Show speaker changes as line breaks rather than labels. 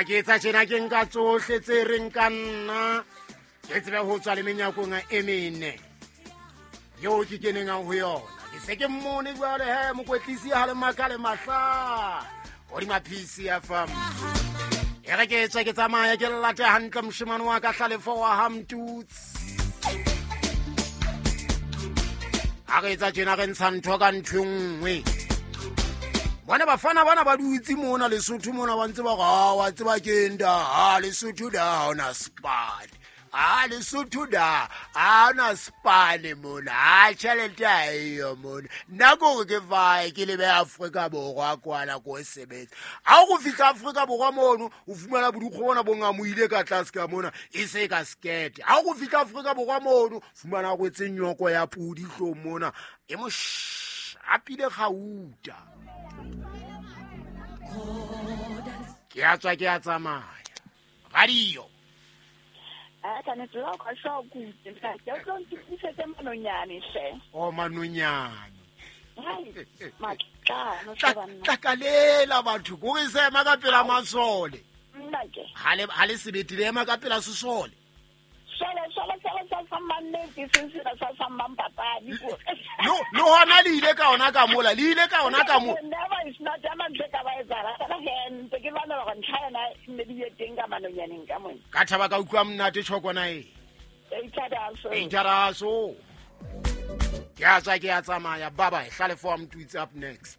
Ha ke etsa tjena, ke nka tsohle tse reng ka nna, ke tsebe ho tswa le menyakong e mene yeo ke keneng ho yona. Ke se ke mmone jwale he, mokwetlisi ha le maka le mahla hodima PCFM. E re ke tswe ke tsamaya, ke late hantle moshemane wa ka, Hlalefo wa Hamtutsi. Ha re etsa tjena, re ntsha ntho ka ntho e nngwe. Bona bafana bana ba dutse mona Lesotho mona, ba ntse ba re, "Ah, wa tseba ke eng da? Ha Lesotho da ha ona spane, a Lesotho da ha ona spane mona, a tjhelete ha eyo mona. Nna ke hore ke vae ke lebe Afrika Borwa kwana ko sebetsa." Ha o go fihla Afrika Borwa mono, o fumana bodikgo bona bo ngamoile ka tlase ka mona, e se ka skete. Ha o go fihla Afrika Borwa mono, fumana rwetse nyoko ya podi hlong mona, e mo shapile gauta. Ke a tswa, ke a tsamaya. Radio.
A tshwanetse la o ka shwa kutse ntate, o tlo ntukisetse manonyane hle.
O manonyane.
Hai, matlano hle banna.
Tlakalela batho kore se ema ka pela masole.
Nnake.
Ha le sebete le ema ka pela sesole.
Sole sole sole sa sa mannete, seng sena sa sa mang papadi ko.
Le hona le ile ka ona ka mola, le ile ka ona ka mo.
Never is not ya mantle ka ba etsahala. Ka he ntse ke lwanela hore ntlha yona e nne di ye teng ka manonyaneng ka mona.
Ka thaba ka utlwa monate tjhokona e.
Eitshadaso.
Eitshadaso. Ke a tswa, ke a tsamaya. Bye bye. Hlalefo wa Mtutsi up next.